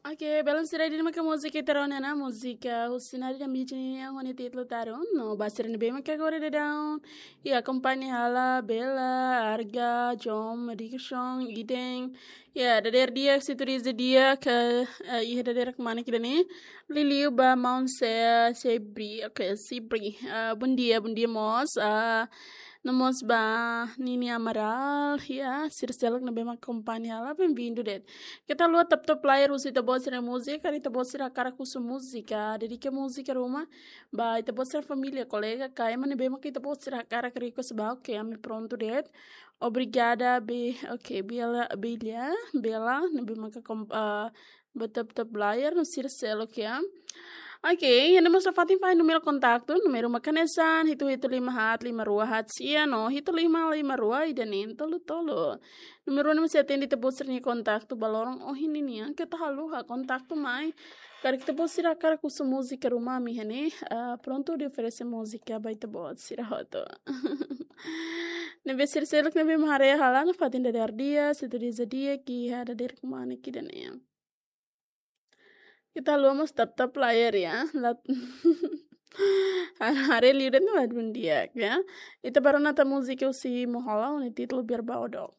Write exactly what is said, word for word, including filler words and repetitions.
Oke, belun sira, ida-ne'e maka múzika ita rona ona, múzika husi Nadi Dambidji nian ho nia títulu Tarun. No ba sira ne'ebé maka agora daudaun iha akompaña hela, Bella, Arga, Jom, Dikson, Iden. Ya, dadeer di'ak, sintonia di'ak, eh, iha dadeer kemana kita ni? Liuliu ba maun Sebri, oke, Sebri. Eh, bom dia, bom dia mós. Eh, no mós ba Nini Amaral, ya, sira seluk ne'ebé mak akompaña hela, bem-vindo de'it. Keta haluha tap-tap layar husu ita-boot sira múzika, karik ita-boot sira hakarak husu múzika, dedika múzika ruma ba ita-boot sira família, kolega, ka ema ne'ebé mak ita-boot sira hakarak request ba, oke, ami prontu de'it. Obrigada, Be-, oke, Bella, Bella, Bella, ne'ebé maka kom-, ah, ba tap-tap layar no sira seluk, ya. Oke, iha ne'e mós nafatin fahe númeru kontaktu, númeru mak hanesan, hitu hitu lima haat lima rua haat sia no hitu lima lima rua ida neen tolu tolu. Númeru ne'e mós sei atende ita-boot sira-nia kontaktu ba loron ohin nian, keta haluha kontaktu mai. Karik ita-boot sira hakarak husu múzika ruma, ami iha ne'e, ah, prontu hodi oferese múzika ba ita-boot sira hotu. Ne'ebé sira seluk ne'ebé mak haree hela nafatin dadeer di'ak, sintonia di'ak iha dadeer kemana kita nian. Keta haluha mós tap-tap layar ya. Lat-, haree liu de'it no ladún di'ak ya. Ita bá rona tan múzika husi Mohola ho nia títulu Biar Bau Dook.